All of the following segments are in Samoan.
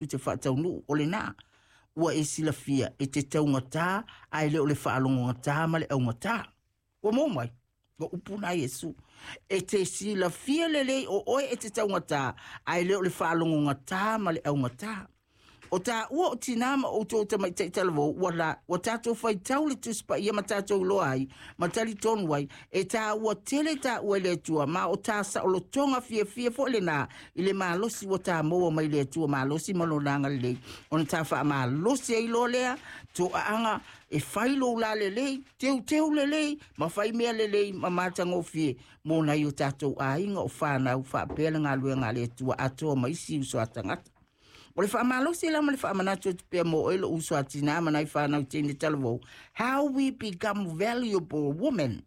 te faataunuu o lenā. Ua e silafia e te taugatā ae le o le faalogogatā ma le augatā. Ua maua mai? O upu na Iesu. E te silafia lelei o oe e te taugatā ae le o le faalogogatā ma le augatā. O tāua o tinā ma outou tamaitai talavou, ua la, ua tātou faitau le Tusi Paia ma tātou iloa ai, ma talitonu ai, e tāua tele tāua i le Atua, ma o tā saolotoga fiafia foi lenā i le malosi ua tā maua mai le Atua malosi ma lona agalelei, ona tā faamalosi ai loa lea toaaga e fai lou la lelei, teuteu lelei, ma fai mea lelei ma matagofie mo nai o tātou aiga o whānau faapea le galuega a le Atua atoa ma isi uso a tagata. O le faamalosi la ma le faamanatu atu pea mo oe lou uso a tinā ma nai whānau teine talavou. How we become valuable women,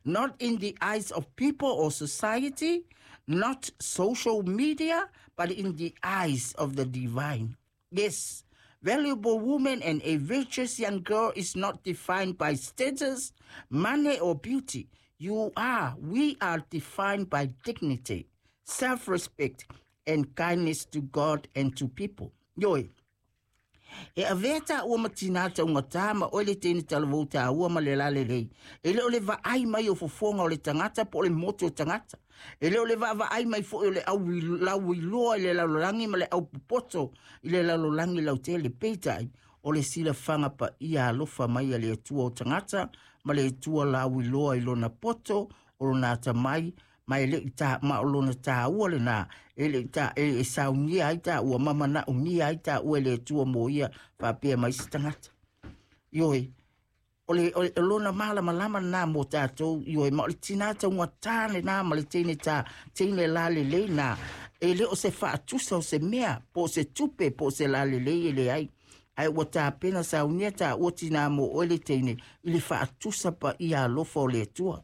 not in the eyes of people or society, not social media, but in the eyes of the divine. Yes, valuable woman and a virtuous young girl is not defined by status, money, or beauty. We are defined by dignity, self-respect, and kindness to God and to people. Ioe, e avea tāua ma tinā taugatā ma oe le teine talavou tāua ma le lalelei. E le o le vaai mai o fofoga o le tagata po o le moto o tagata. E le o le vaavaai mai foi o le au lauiloa i le lalolagi ma le au popoto i le lalolagi lautele. Peitai, o le silafaga paia alofa mai a le Atua o tagata ma le Atua lauiloa i lona poto o lona atamai ma e le i tā, ma o lona tāua lenā, e le i tā, e saunia ai tāua, ma manaomia ai tāua e le Atua mo ia faapea mai se tagata. Ioe, o le, o le lona malamalama lenā mo tātou, ioe, ma o le tinā taugatā lenā ma le teine tā, teine lalelei nā, e le o se faatusa o se mea, po o se tupe, po o se lalelei e leai. Ae ua tapena saunia tāua tinā mo oe le teine, i le faatusa paia alofa o le Atua.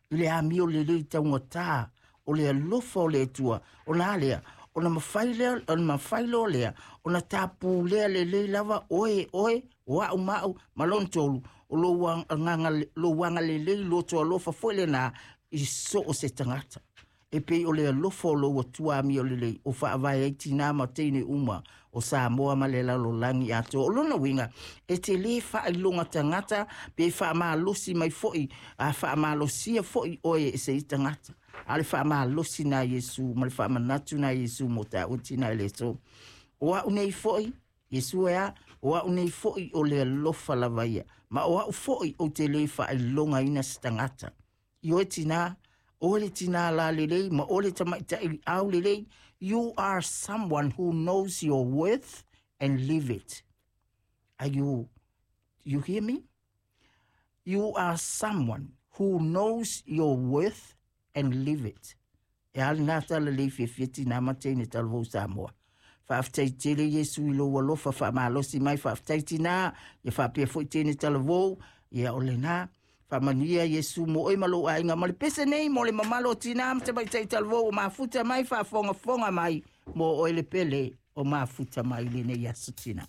I le amio lelei taugatā, o le alofa o le Atua, ona a lea, ona mafai lea, ona mafai loa lea, ona tapulea lelei lava oe, oe, o au ma au, ma lona tolu, o lou agaga, lou agalelei loto alofa foi lenā i so o se tagata. E pei o le alofa o lou Atua amio lelei, o faavae ai tinā ma teine uma o Samoa ma le lalolagi atoa. O lona uiga, e te lē faailoga tagata pe faamalosi mai foi, a faamalosia foi oe e se i tagata. A o le faamalosi na Iesu ma le faamanatu na Iesu mo tāua tinā i le aso. O au nei foi, Iesu e a, o au nei foi o le alofa lava ia, ma o au foi ou te lē faailogaina se tagata. Ioe tinā, o le tinā lalelei ma o le tamaitai aulelei, you are someone who knows your worth and live it. Are you, you hear me? You are someone who knows your worth and live it. E a lenā tala lelei fiafia tinā ma teine talavou Samoa. Faafetai tele Iesu i lou alofa faamalosi mai, faafetai tinā, ia faapea foi teine talavou, ia o lenā. Faamanuia Iesu mo oe ma lou aiga ma le pese nei mo le mamalo o tinā ma tamaitai talavou o mafuta mai faafogafoga mai mo oe le pele o mafuta mai lenei aso tinā.